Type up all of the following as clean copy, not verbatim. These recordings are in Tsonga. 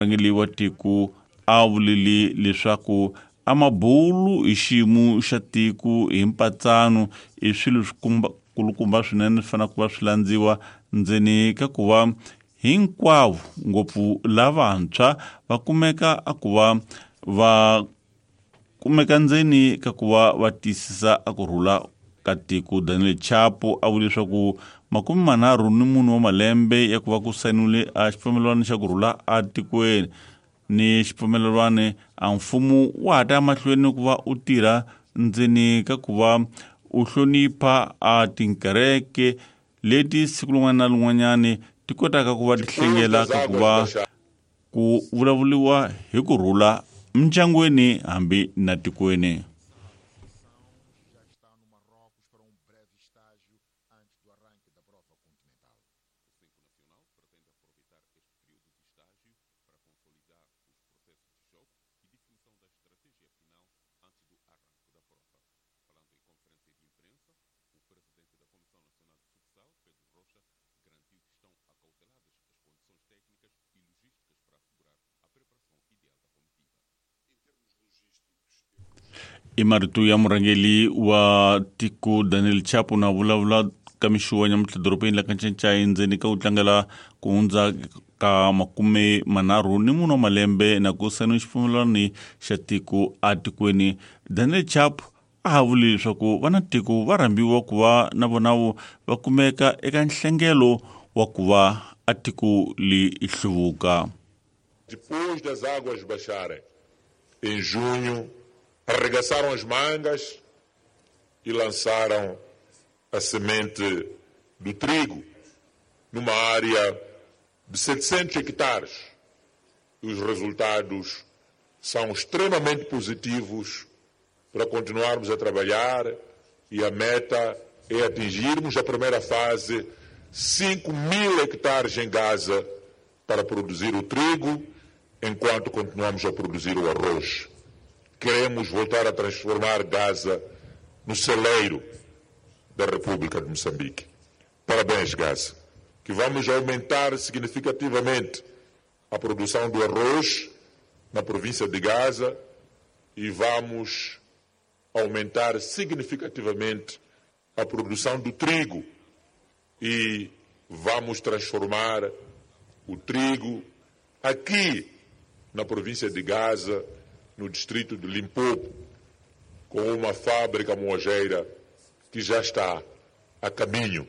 Murhangeri wa tiko a vulile leswaku a mabulu hi xiyimo xa tiko hi mpatsano i swilo swikulukumba swinene swi fanele ku va swi landziwa ndzeni ka ku va hinkwavo ngopfu lavantshwa va kumeka a ku va va kumeka ndzeni ka ku va va tiyisisa a ku rhula ka tiko. Daniel Chapo a vule leswaku 34 wa malembe ya ku va ku sayiniwile a xipfumelelwano xa ku rhula atikweni ni xipfumelelwano a mfumo wa ha ta ya mahlweni ku va u tirha ndzeni ka ku va u hlonipha a tinkereke leti siku rin'wana na rin'wanyani ti kotaka ku va ti hlengela ka ku va ku vulavuriwa hi ku rhula mindyangwini hambi na tikweni. I marito ya murhangeri wa tiko Daniel Chapo na vulavula ka mixo wa nyamuntlha dorobeni la ka Ncancai ndzeni ka ku tlangela ku hundza ka 34 wa malembe na ku sayiniwa xipfumelelano xa tiko atikweni. Daniel Chapo a ha vuli leswaku va na tiko va rhambiwa ku va na vona va kumeka eka nhlengelo wa ku va a tiko li hluvuka. Depois das águas baixarem, em junho, arregaçaram as mangas e lançaram a semente do trigo numa área de 700 hectares. E os resultados são extremamente positivos para continuarmos a trabalhar e a meta é atingirmos a primeira fase 5 mil hectares em Gaza para produzir o trigo, enquanto continuamos a produzir o arroz. Queremos voltar a transformar Gaza no celeiro da República de Moçambique. Parabéns, Gaza. Que vamos aumentar significativamente a produção do arroz na província de Gaza e vamos aumentar significativamente a produção do trigo e vamos transformar o trigo aqui na província de Gaza, no distrito de Limpopo, com uma fábrica moageira que já está a caminho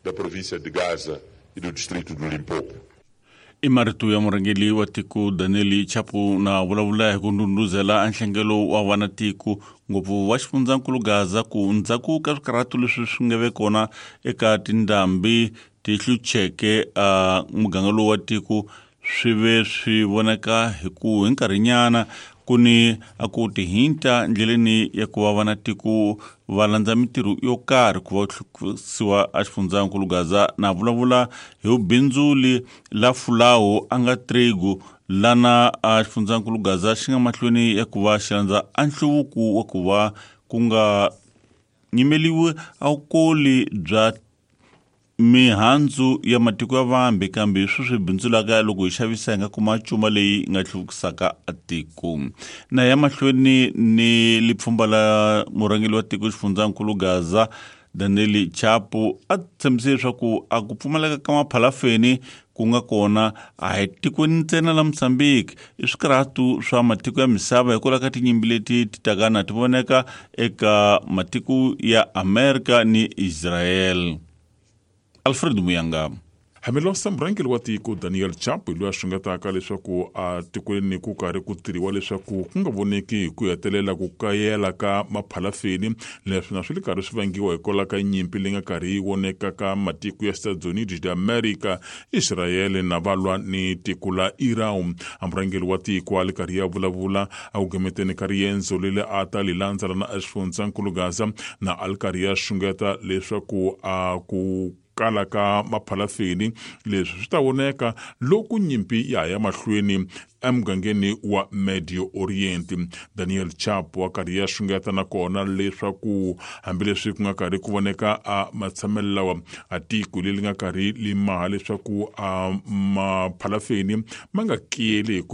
da província de Gaza e do distrito de Limpopo. I marito ya murhangeri wa tiko Daniel Chapo na vulavula hi ku ndhundhuzela nhlengelo wa vana tiko ngopfu wa xifundzankulu Gaza ku ndzhaku ka swikarhato leswi swi nga ve kona eka tindhambi ti hlucheke a muganga lowu wa tiko swi ve swi vonaka hi ku hi nkarhinyana ku ni a ku tihinta ndleleni ya ku va vana tiko va landza mintirho yo karhi ku va hluvukisiwa a xifundzankulu Gaza na vulavula hi vubindzuli la fulawu a nga trigo lana a xifundzankulu Gaza xi nga mahlweni ya ku va xi landza a nhluvuko wa ku va ku nga nyimeliwi a vukoli bya mihandzu ya matiko ya vambe kambe swi swi bindzulaka loko hi xavisa hi nga kuma cuma leyi nga hluvukisaka tiko. Na ya mahlweni ni lipfhumba la murhangeri wa tiko xifundzankulu Gaza Daniel Chapo a tshembise leswaku a ku pfumaleka ka maphalafeni ku nga kona a hi tikweni ntsena la Mozambique i swikarhatu swa matiko ya misava hikwalaho ka tinyimpi leti ti taka na ti voneka eka matiko ya Amerika ni Israel. Alfred Muyanga. Hambiloko murhangeri wa tiko Daniel Chapo loyi a xungetaka leswaku a tikweni ku karhi ku tirhiwa leswaku ku nga voneki hi ku hetelela ku kayela ka maphalafeni leswi na swi le karhi swi vangiwa hikwalaho ka nyimpi leyi nga karhi yi voneka ka matiko ya Estados Unidos de America, Israel na valwa ni tiko la Iran. A murhangeri wa tiko a le karhi ya vulavula a ku gemeteni ka riendzo leri a ta li landzela na exifundzankulu Gaza na a li karhi ya xungeta leswaku a ku kala ka maphalafeni. Leswi swi ta voneka loko nyimpi ya ha ya mahlweni emugangeni wa Medio Orient. Daniel Chapo wa karhi ya xungeta nakona leswaku hambileswi ku nga karhi ku voneka a matshamelo lawa, a tiko leri nga karhi li maha leswaku a maphalafeni ma nga kiyeli hi ku